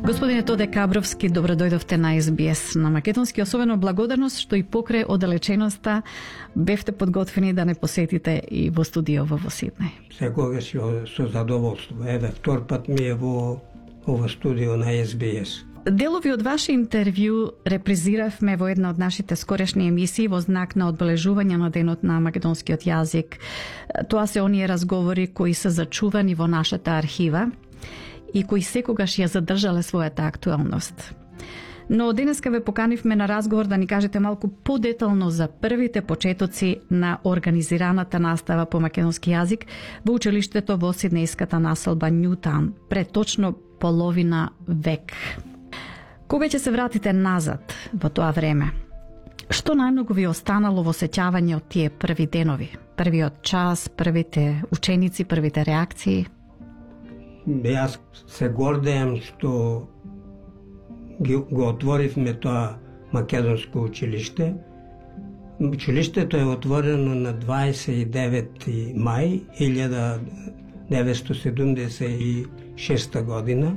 Господине Тоде Кабровски, добро дојдовте на СБС на Македонски. Особено благодарност што и покрај оддалеченоста бевте подготвени да не посетите и во студио во Сиднеј. Секогаш со задоволство. Еве, втор пат ми е во студио на СБС. Делови од ваше интервју репризиравме во една од нашите скорешни емисии во знак на одбележување на денот на македонскиот јазик. Тоа се оние разговори кои се зачувани во нашата архива и кои секогаш ја задржале својата актуелност. Но денеска ве поканивме на разговор да ни кажете малку подетално за првите почетоци на организираната настава по македонски јазик во училиштето во сиднејската населба Њутаун пред точно половина век. Кога ќе се вратите назад во тоа време? Што најмногу ви останало во сеќавање од тие први денови? Првиот час, првите ученици, првите реакции? Јас се гордеам што го отворивме тоа македонско училиште. Училиштето е отворено на 29 мај 1976 година,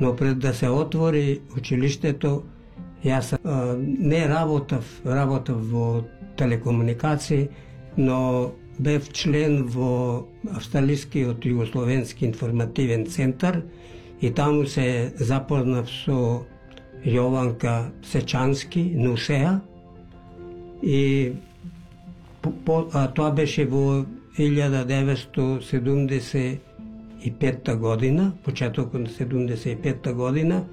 но пред да се отвори училиштето, јас не работав во телекомуникации, но бев член во Австралискиот југословенски информативен центар и таму се запознав со Јованка Сечански, Нусеа, и тоа беше во 1975 година, почетокот на 75 година,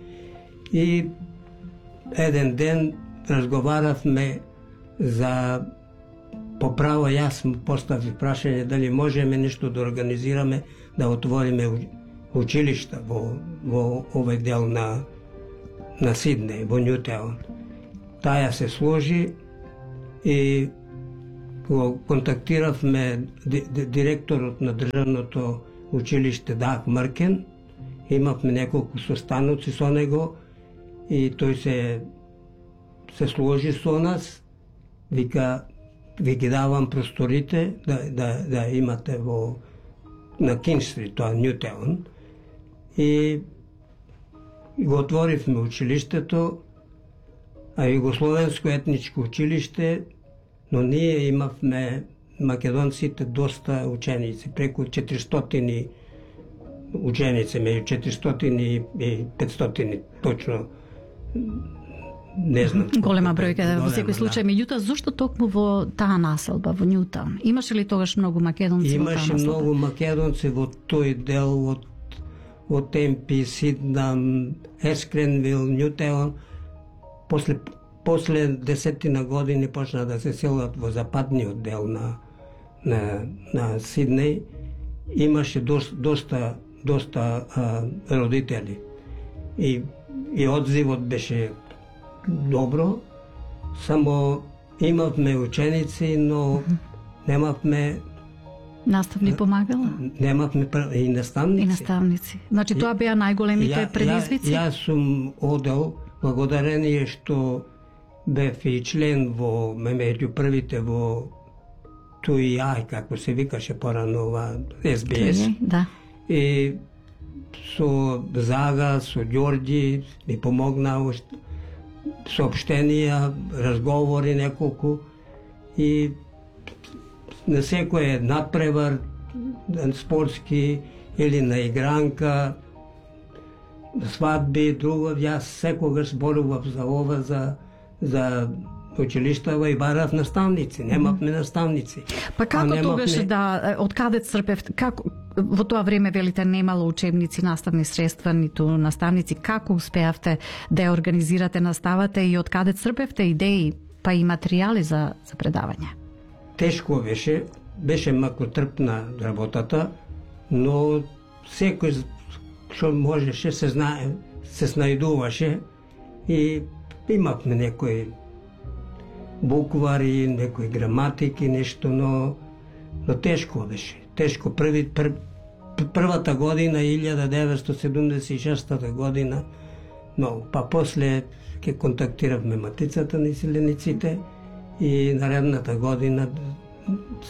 и еден ден разговаравме за поправо, јас му поставив прашање дали можеме нешто да организираме, да отвориме училишта во овој дел на Сиднеј, во Њутаун. Таја се сложи и го контактиравме директорот на државното училиште Даг Мркен. Имавме неколку состаноци со него и тој се сложи со нас, вика, ви ги давам просторите да имате на Кинг-стрит, тоа Њутаун, и го отворивме училиштето, а Југословенско етничко училиште, но ние имавме македонците доста ученици, преку 400 ученици, меѓу 400 и 500 точно, не знам. Голема бројка во секој случај. Меѓутоа, зошто токму во таа населба, во Њутаун? Имаше ли тогаш многу македонци во таа населба? Имаше многу македонци во тој дел, во Темпи, Сиднам, Ескренвил, Њутаун. После 10 години почна да се селат во западниот дел на Сиднеј. Имаше доста родители. И одзивот беше добро, само имавме ученици, но немавме наставни помагала? Немавме и наставници. Значи тоа беа најголемите предизвици? Јас сум одел, благодарение што бев и член меѓу првите во ТУИА, како се викаше порано ова СБС. Да. И со Зага, со Ѓорѓи ми помогна соопштенија, разговори неколку, и на секој надпревар спортски или на игранка, свадби, друго, јас секогаш зборував за ова, за училиштава и барав наставници. Немавме наставници. Па како тогаш од каде црпевте? Како во тоа време велите немало учебници, наставни средства, ниту наставници? Како успеавте да ја организирате наставата и од каде црпевте идеи, па и материјали за предавање? Тешко беше макротрпна работата, но секој што можеше се снајдуваше и имавме некои буквари, некои граматики, нешто, но тешко беше. Тешко. Првата година, 1976 година, но па после ќе контактиравме Матицата на иселениците и наредната година,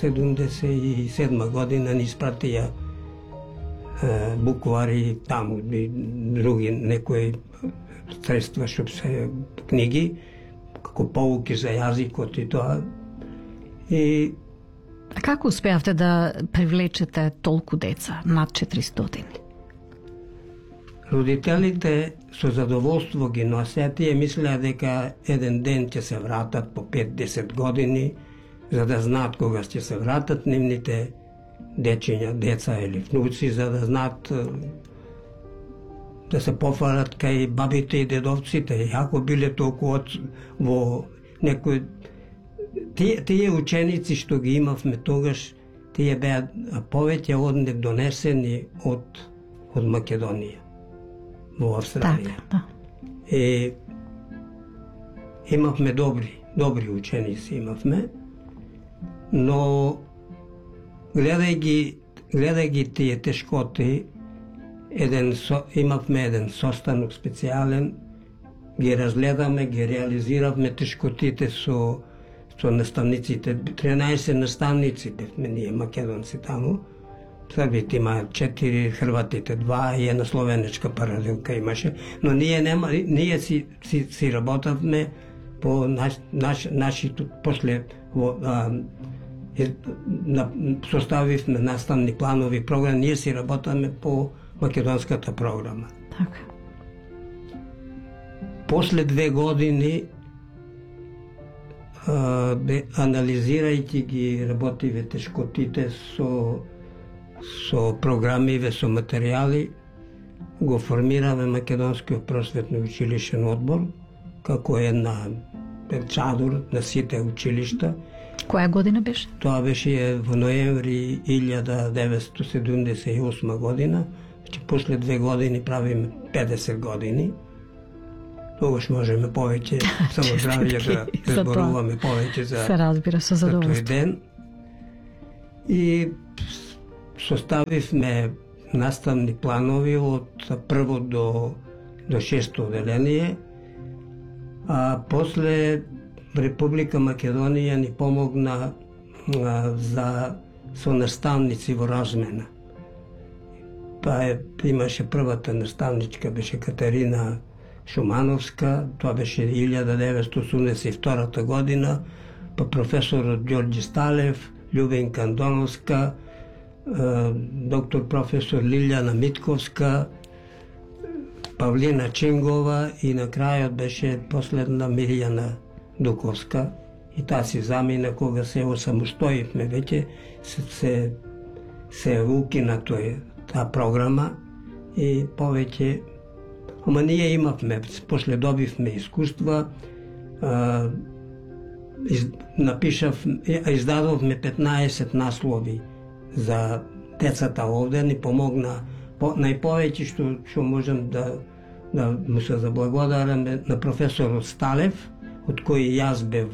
77 година, ни испратија буквари, таму и други некои средства што се книги, како поуки за јазикот и тоа. И како успеавте да привлечете толку деца, над 400? Родителите со задоволство ги носеа, тие мислеа дека еден ден ќе се вратат по 5-10 години, за да знаат кога ќе се вратат нивните дечиња, деца или внуци, за да знаат да се пофалат кај бабите и дедовците. Ако биле толку во некој тие ученици што ги имавме тогаш, тие беа повеќе од донесени од Македонија во Австралија. Так, да. Имавме добри ученици имавме, но гледајќи тие тешкоти, имавме еден состанок специјален, ги разгледаме, ги реализиравме тешкотите со наставниците. 13 наставници бевме ние македонци таму. Србите има 4, хрватите 2 и една словенечка паралелка имаше, но ние си работавме по нашите, после составивме наставни планови програми, ние си работаме по македонската програма. Така. После 2 години, анализирајќи ги работиве тешкотите со програмиве, со материјали, го формираме Македонскиот просветно училишен одбор, како една чадор на сите училишта. Која година беше? Тоа беше во ноември 1978 година, значи после 2 години правиме 50 години. Тогаш можеме повеќе само здравје да зборуваме повеќе за се разбира со задоволство. Тој ден. И составивме наставни планови од прво до 6 оделение, а после Република Македонија ни помогна со наставници во размена. Имаше првата наставничка, беше Катерина Шумановска, тоа беше 1982 година, па професорот Ѓорѓи Сталев, Љубенка Андоновска, доктор професор Лилјана Митковска, Павлина Чингова и на крајот беше последна Мирјана Дуковска. И таа си замина кога се осамостоивме веќе, се укина таа програма и повеќе. Ама ние имавме, после добивме искуства, издадовме 15 наслови за децата овде, ни помогна најповеќе што можем да му се заблагодараме на професорот Сталев, од кој јас бев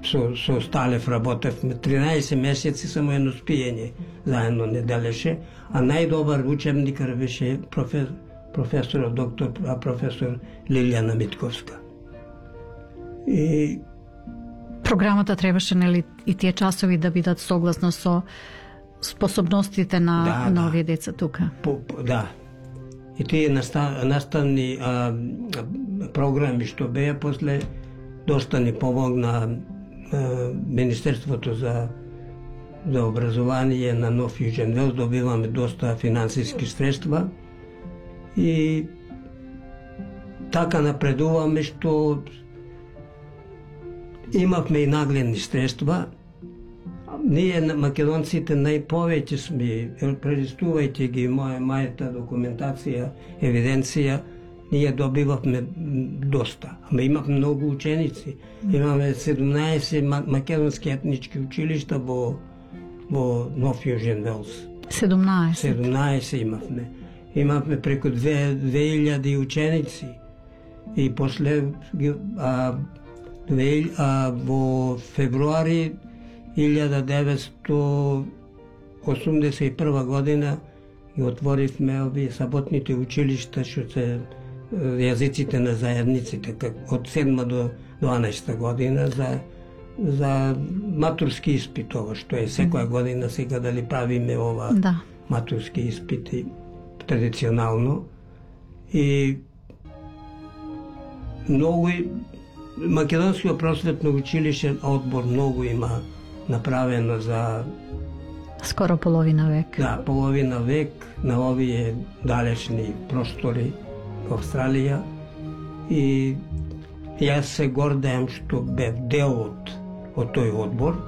со Сталев работевме 13 месеци, само едно спиење заедно не делеше, а најдобар учебникар беше професорот професор Лилјана Митковска. И програмата требаше, нели, и тие часови да бидат согласно со способностите на овие деца тука. Да. И тие наставни програми што беа, после доста ни помогна Министерството за образование на Нов Јужен Велс, добиваме доста финансиски средства и така напредуваме што имавме и нагледни средства. Ние, македонците, најповеќе сме, прелистувајќи ги мојата документација, евиденција, ние добивавме доста. Ама имавме многу ученици. Имаме 17 македонски етнички училишта во Нов Јужен Велс. 17 имавме. Имавме преку 2000 ученици. И после во февруари 1981 година ги отворивме овие саботните училишта, што се јазиците на заедниците, од 7 до 12 година, за за матурски испит, ова што е секоја година сега дали правиме ова матурски испити традиционално. И многу Македонскиот просветно училишен одбор многу има направено за скоро половина век. Да, половина век на овие далечни простори во Австралија, и јас се гордеам што бев дел од тој одбор.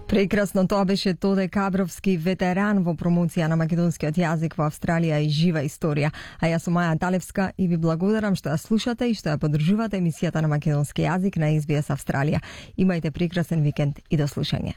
Прекрасно, тоа беше Тоде Кабровски, ветеран во промоција на македонскиот јазик во Австралија и жива историја. А јас сум Маја Талевска и ви благодарам што ја слушате и што ја поддржувате емисијата на македонски јазик на SBS Австралија. Имајте прекрасен викенд и до слушање.